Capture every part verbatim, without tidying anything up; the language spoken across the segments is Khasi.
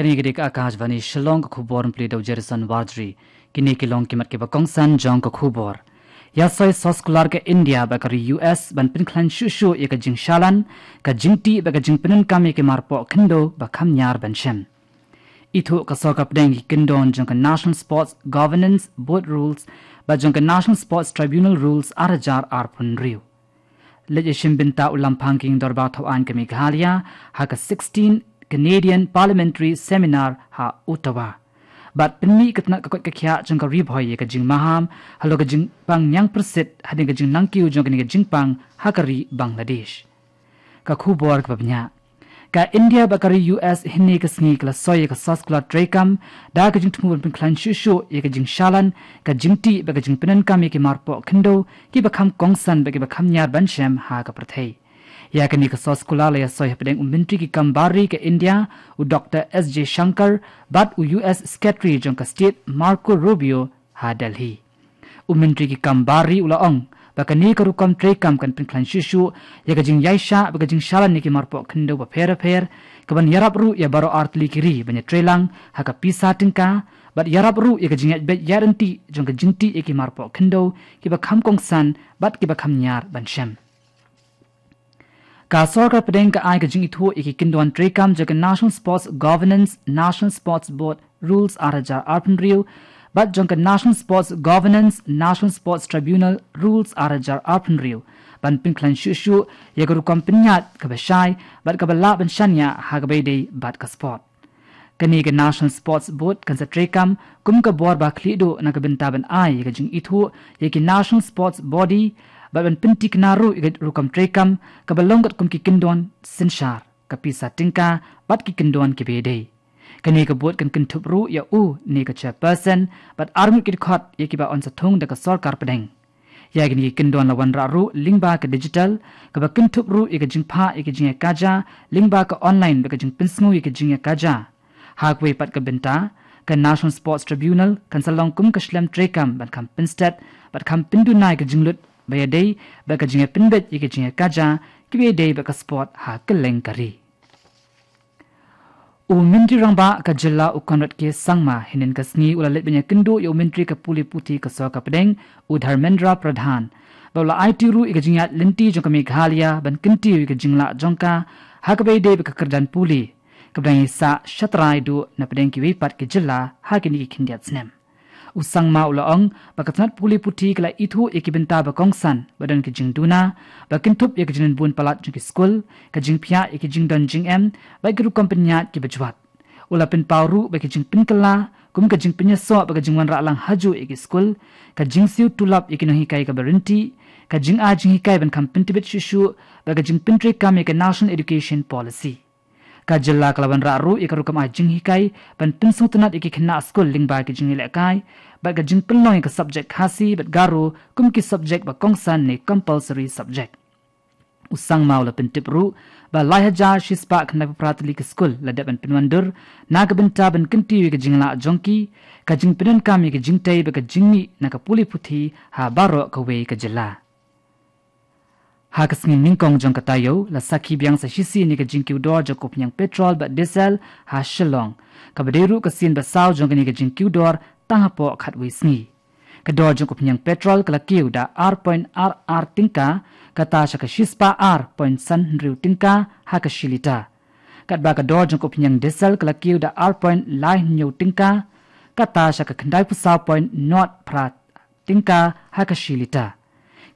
Kane ka dei ka Akashvani Shillong, ka khubor pule da u Jerison Warjri. Kine ki long ki mat kiba kongsan jong ka khubor. Ïa soi soskular ka India bad ka ri U S ban pynkhlaiñ shuh shuh ïa ka jingshalan, ka jingtih bad ka jingpyndonkam ïa ki marpoh khyndew ba kham ñiar ban shem. Ithuh ka sorkar pdeng ki kyndon jong ka National Sports Governance Board Rules bad jong ka National Sports Tribunal Rules ar hajar arphew hynriew. Leit ïashim bynta u Lamphang ka Ïing Dorbar Thaw Aiñ ka Meghalaya ha ka sixteen Canadian Parliamentary Seminar ha Ottawa. Bad pynmih ka tnat ka koit ka khiah jong ka Ri Bhoi ïa ka jingmaham halor ka jingpang ñiangpyrsit hadien ka jingnangkiew jong kane ka jingpang ha ka ri Bangladesh. Ka khubor kaba bniah. Ka India bad ka ri U S hynne ka sngi ka la soi ïa ka soskular treikam da ka jingthmu ban pynkhlaiñ shuh shuh ïa ka jingshalan, ka jingtih bad ka jingpyndonkam ïa ki marpoh khyndew kiba kham kongsan bad kiba kham ñiar ban shem ha ka pyrthei. Ïa kane ka soskular la ïa soi hapdeng u Myntri ki kam bar ri ka India, u Doctor S J Shankar, bad u U S Secretary jong ka State, Marco Rubio, ha Delhi. U Myntri ki kam bar ri u la ong ba kane ka rukom treikam kan pynkhlaiñ shuh shuh ïa ka jingïaishah bad ka jingshalan ïa ki marpoh khyndew bapher bapher, kaban ïarap ruh ïa baroh artylli ki ri ban ïatreilang ha ka pisa tyngka, bad ïarap ruh ïa ka jingïaid beit ïaid ryntih jong ka jingtih ïa ki marpoh khyndew kiba kham kongsan bad kiba kham ñiar ban shem. Ka sorkar pdeng ka ai ka jingithuh ïa ki kyndon treikam jong ka National Sports Governance, National Sports Board Rules ar hajar arphew hynriew bad jong ka National Sports Governance, National Sports Tribunal Rules ar hajar arphew hynriew ban pynkhlaiñ shuh shuh ïa ka rukom pynïaid kaba shai bad kaba lah ban shaniah ha kaba ïadei bad ka sport. Kane ka National Sports Board kan sa treikam kum ka bor ba khlieh duh na ka bynta ban ai ïa ka jingithuh ïa ki National Sports Body bad ban pynthikna ruh ïa ka rukom treikam kaba long katkum ki kyndon synshar, ka pisa tyngka bad ki kyndon kiba ïadei. Kane ka board kan kynthup ruh ïa u ne ka chairperson bad arngut ki dkhot ïa kiba yn sa thung da ka sorkar pdeng. Ïa kine ki kyndon la wanrah ruh lyngba ka digital, kaba kynthup ruh ïa ka jingphah ïa ka jingïakajia lyngba ka online bad ka jingpynsngew ïa ka jingïakajia. Ha kawei pat ka bynta, ka National Sports Tribunal kan sa long kum ka shlem treikam ban kham pynstet bad kham pynduna ïa ka jinglut ba ïadei bad ka jingïapynbeit ïa ka jingïakajia kiba ïadei bad ka sport ha kylleng ka ri. U Myntri Rangbah ka jylla u Conrad K Sangma hynnin ka sngi u la leit ban ïakynduh ïa u Myntri ka pule puthi ka sorkar pdeng, u Dharmendra Pradhan. Bad u la aiti ruh ïa ka jingïaid lynti jong ka Meghalaya ban kyntiew ïa ka jinglah jong ka ha kaba ïadei bad ka kyrdan pule kaba dang ïasah shatrai duh na pdeng kiwei pat ki jylla ha kine ki khyndiat snem. U Sangma u la ong ba ka tnat pule puthi ka la ithuh ïa ki bynta ba kongsan ba don ki jingduna, ba kynthup ïa ka jingbun palat jong ki skul, ka jingphiah ïa ki jingdon jingem bad ki rukom pynïaid kiba jwat. U la pynpaw ruh ba ki jingpynkylla kum ka jingpynïasoh bad ka jingwanrah lang hajuh ïa ki skul, ka jingsiew tulop ïa ki nonghikai kaba ryntih, ka jingai jinghikai ban kham pyntbit shuh shuh bad ka jingpyntreikam ïa ka National Education Policy. Ka jylla ka la wanrah ruh ïa ka rukom ai jinghikai ban pynsngewtynnat ïa ki khynnah skul lyngba ki jingïalehkai bad ka jingpynlong ïa ka subject Khasi bad Garo kum ki subject ba kongsan ne compulsory subject. U Sangma u la pyntip ruh ba lai hajar shispah khyndaiphew phra tylli ki skul la dep ban pynwandur na ka bynta ban kyntiew ïa ka jinglah jong ki, ka jingpyndonkam ïa ka jingtei bad ka jingmih na ka pule puthi ha baroh kawei ka jylla. Ha ka sngi nyngkong jong ka taïew la sakhi biang sa shisien ïa ka jingkiew dor jong ka umphniang petrol bad diesel ha Shillong, kaba dei ruh ka sien ba saw jong kane ka jingkiew dor tang hapoh khatwei sngi. Ka dor jong ka umphniang petrol ka la kiew da ar point ar ar tyngka, kata sha ka shispah ar point san hynriew tyngka ha ka shi lita. Katba ka dor jong ka umphniang diesel ka la kiew da ar point lai hynñiew tyngka, kata sha ka khyndaiphew saw point nod phra tyngka ha ka shi lita.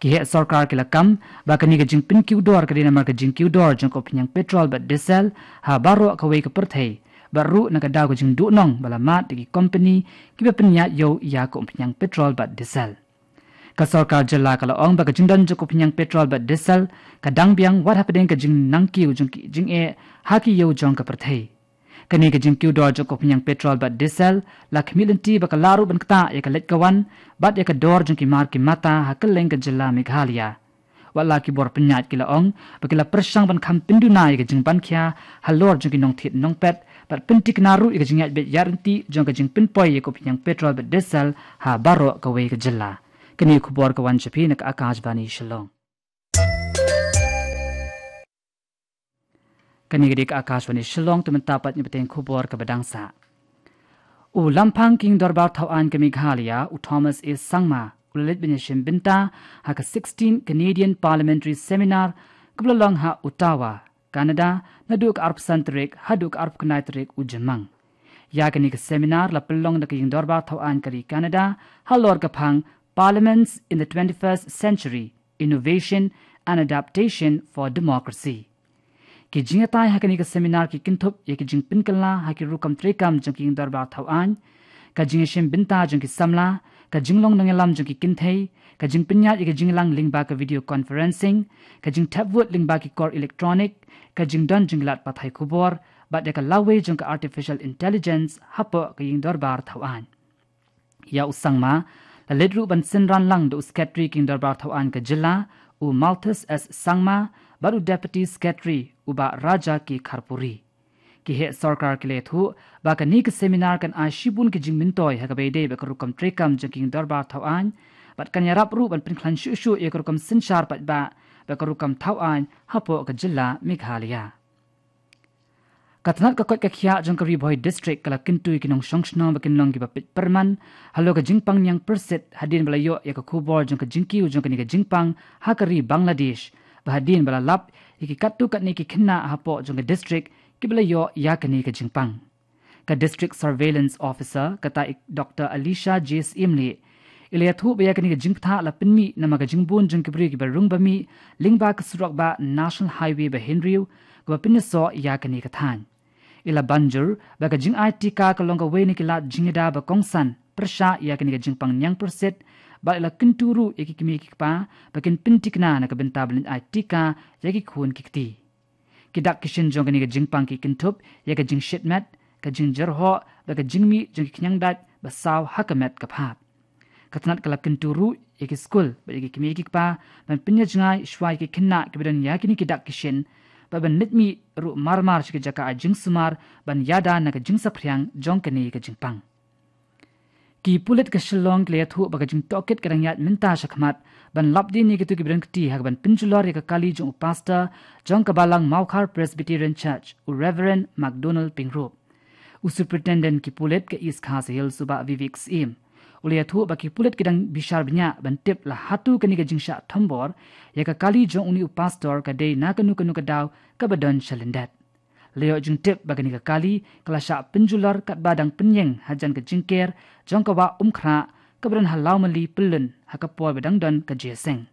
Ki heh sorkar ki la kam ba kane ka jingpynkiew dor ka dei namar ka jingkiew dor jong ka umphniang petrol bad diesel ha baroh kawei ka pyrthei, bad ruh na ka daw ka jingduhnong ba la mad da ki kompani kiba pynïaid ïew ïa ka umphniang petrol bad diesel. Ka sorkar jylla ka la ong ba ka jingdon jong ka umphniang petrol bad diesel ka dang biang wat hapdeng ka jingnangkiew jong ki jingeh ha ki ïew jong ka pyrthei. Kane ka jingkiew dor jong ka umphniang petrol bad diesel la khmih lynti ba ka lah ruh ban ktah ïa ka leit ka wan bad ïa ka dor jong ki mar ki mata ha kylleng ka jylla Meghalaya. Wat la ki bor pynïaid ki la ong ba ki la pyrshang ban kham pynduna ïa ka jingbankhia halor jong ki nongthied nongpet bad pynthikna ruh ïa ka jingïaid beit ïaid ryntih jong ka jingpynpoi ïa ka umphniang petrol bad diesel ha baroh kawei ka jylla. Kane ka khubor ka wan sha phi na ka Akashvani Shillong. Kane ka dei ka Akashvani Shillong, te mynta pat ngin bteng khubor kaba dang sah. U Lamphang Ïing Dorbar Thaw Aiñ ka Meghalaya, u Thomas A Sangma, u la leit ban ïashim bynta ha ka sixteen Canadian Parliamentary Seminar kaba la long ha Ottawa, Canada, naduh ka arphew san tarik haduh ka arphew khyndai tarik u Jymmang. Ïa kane ka seminar la pynlong da ka Ïing Dorbar Thaw Aiñ ka ri Canada halor ka phang Parliaments in the twenty-first Century: Innovation and Adaptation for Democracy. Ki jingïatai ha kane ka seminar ki kynthup ïa ki jingpynkylla ha ki rukom treikam jong ki Ïing Dorbar Thaw Aiñ, ka jingïashim bynta jong ki samla, ka jinglong nongïalam jong ki kynthei, ka jingpynïaid ïa ka jingïalang lyngba ka video conferencing, ka jingthep vote lyngba ki kor electronic, ka jingdon jong ki lad pathai khubor, bad ïa ka lawei jong ka artificial intelligence hapoh ka Ïing Dorbar Thaw Aiñ. Ïa u Sangma la leit ruh ban synran lang da u Secretary ka Ïing Dorbar Thaw Aiñ ka jylla, u Malthus S Sangma, bad u Deputy Secretary, u Bah Raja K Kharpuri. Ki heh sorkar ki la ïathuh ba kane ka seminar kan ai shibun ki jingmyntoi ha kaba ïadei bad ka rukom treikam jong ka Ïing Dorbar Thaw Aiñ, bad kan ïarap ruh ban pynkhlaiñ shuh shuh ïa ka rukom synshar paidbah bad ka rukom thaw aiñ hapoh ka jylla Meghalaya. Ka tnat ka koit ka khiah jong ka Ri Bhoi District ka la kyntu ïa ki nongshong shnong ba kin long kiba peit pyrman halor ka jingpang ñiangpyrsit hadien ba la ïoh ïa ka khubor jong ka jingkiew jong kane ka jingpang ha ka ri Bangladesh, bad hadien ba la lap ïa ki katto katne ki khynnah hapoh jong ka district kiba la ïoh ïa kane ka jingpang. Ka District Surveillance Officer, kata i Doctor Alisha J Syiemlieh, i la ïathuh ba ïa kane ka jingpynthah la pynmih namar ka jingbun jong ki briew kiba rung ba mih lyngba ka surok bah National Highway ba hynriew kaba pynïasoh ïa kane ka thaiñ. I la ban jur ba ka jingai tika ka long kawei na ki lad jingïada ba kongsan pyrshah ïa kane ka jingpang ñiangpyrsit, bad i la kyntu ruh ïa ki kmie ki kpa ba kin pyntikna na ka bynta ban leit ai tika ïa ki khun ki kti. Ki dak ki shin jong kane ka jingpang ki kynthup ïa ka jingshit met, ka jingjyrhoh, bad ka jingmih jong ki khñiang dait ba saw ha ka met ka phad. Ka tnat ka la kyntu ruh ïa ki skul bad ïa ki kmie ki kpa ban pynïajngai shuwa ïa ki khynnah kiba don ïa kine ki dak ki shin, bad ban leit mih ruh mar mar sha ki jaka ai jingsumar ban ïada na ka jingsaphriang jong kane ka jingpang. Ki pulit ka Shillong ki la ïathuh ba ka jingtohkit ka dang ïaid mynta shakhmat ban lapdien ïa kito kiba don kti ha kaban pynjulor ïa ka kali jong u pastor jong ka balang Mawkhar Presbyterian Church, u Reverend McDonald Pyngrope. U Superintendent ki pulit ka East Khasi Hills, u Bah Vivek Syiem, u la ïathuh ba ki pulit ki dang bishar bniah ban tip la hato kane ka jingshah thombor ïa ka kali jong une u pastor ka dei na kano kano ka daw kaba don sha lyndet. La ïoh jingtip ba kane ka kali ka la shah pynjulor katba dang pynïeng hajan ka jingker jong ka wah Umkhrah kaba don ha Lawmali, Pyllun, ha ka por ba dang don ka jingïaseng.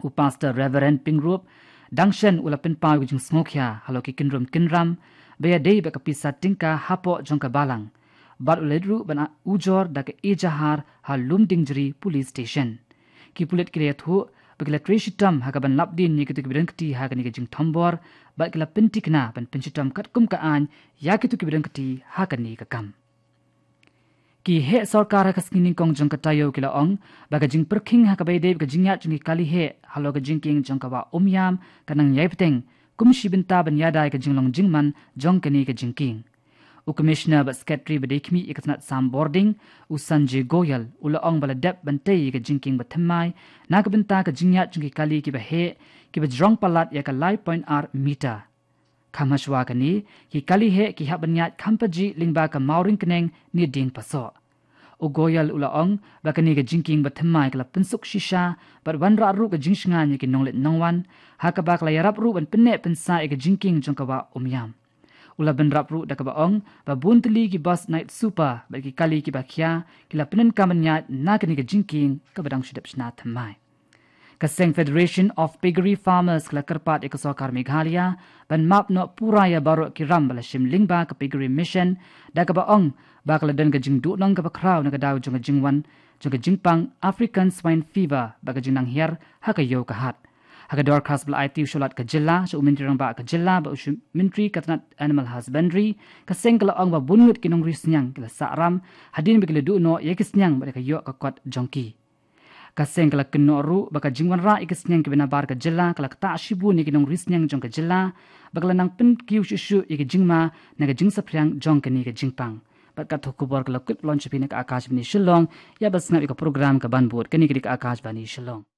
U Pastor Reverend Pyngrope dang shen u la pynpaw ïa ka jingsngewkhia halor ki kynrum kynram ba ïadei bad ka pisa tyngka hapoh jong ka balang, bad u la leit ruh ban ujor da ka ejahar ha Lumdiengjri Police Station. Ki pulit ki la ïathuh ba ki la trei shitom ha kaban lapdien ïa kito kiba don kti ha kane ka jingthombor, bad ki la pyntikna ban pynshitom katkum ka aiñ ïa kito kiba don kti ha kane ka kam. Ki heh sorkar ha ka sngi nyngkong jong ka taïew ki la ong ba ka jingpyrkhing ha kaba ïadei bad ka jingïaid jong ki kali heh halor ka jingkieng jong ka wah Umiam ka nang ïai bteng kum shi bynta ban ïada ïa ka jinglong jingman jong kane ka jingkieng. U Commissioner bad Secretary ba dei khmih ïa ka tnat sam bording, u Sanjay Goyal, u la ong ba la dep ban tei ïa ka jingkieng bathymmai na ka bynta ka jingïaid jong ki kali kiba heh, kiba jrong palat ïa ka lai point ar meter. Kham hashwa kane, ki kali heh ki hap ban ïaid kham pajih lyngba ka mawring kyneng ne dieng pasoh. U Goyal u la ong ba kane ka jingkieng bathymmai ka la pynsuk shisha bad wanrah ruh ka jingshngaiñ ïa ki nongleit nongwan, ha kaba ka la ïarap ruh ban pynneh pynsah ïa ka jingkieng jong ka wah Umiam. U la bynrap ruh da kaba ong ba bun tylli ki bus night super bad ki kali kiba khia ki la pyndonkam ban ïaid na kane ka jingkieng kaba dang shu dep shna thymmai. Ka seng Federation of Piggery Farmers ka la kyrpad ïa ka sorkar Meghalaya ban map noh pura ïa baroh ki ram ba la shim lyngba ka Piggery Mission, da kaba ong ba ka la don ka jingduhnong kaba khraw na ka daw jong ka jingwan jong ka jingpang African Swine Fever bad ka jingnang hiar ha ka ïew ka hat. Ha ka dorkhas ba la aiti u sha u Lat ka jylla, sha u Myntri Rangbah ka jylla bad u sha u Myntri ka tnat Animal Husbandry, ka seng ka la ong ba bun ngut ki nongri sniang ki la sah ram hadien ba ki la duh noh ïa ki sniang bad ïa ka ïoh ka kot jong ki. Ka seng ka la kynnoh ruh ba ka jingwanrah ïa ki sniang kiba nabar ka jylla ka la ktah shibun ïa ki nongri sniang jong ka jylla, ba ka la nang pynkiew shuh shuh ïa ki jingma na ka jingsaphriang jong kane ka jingpang. Bad katto khubor ka la kut ban wan sha phi na ka Akashvani Shillong, ïa ban sngap ïa ka program kaban bud. Kane ka dei ka Akashvani Shillong.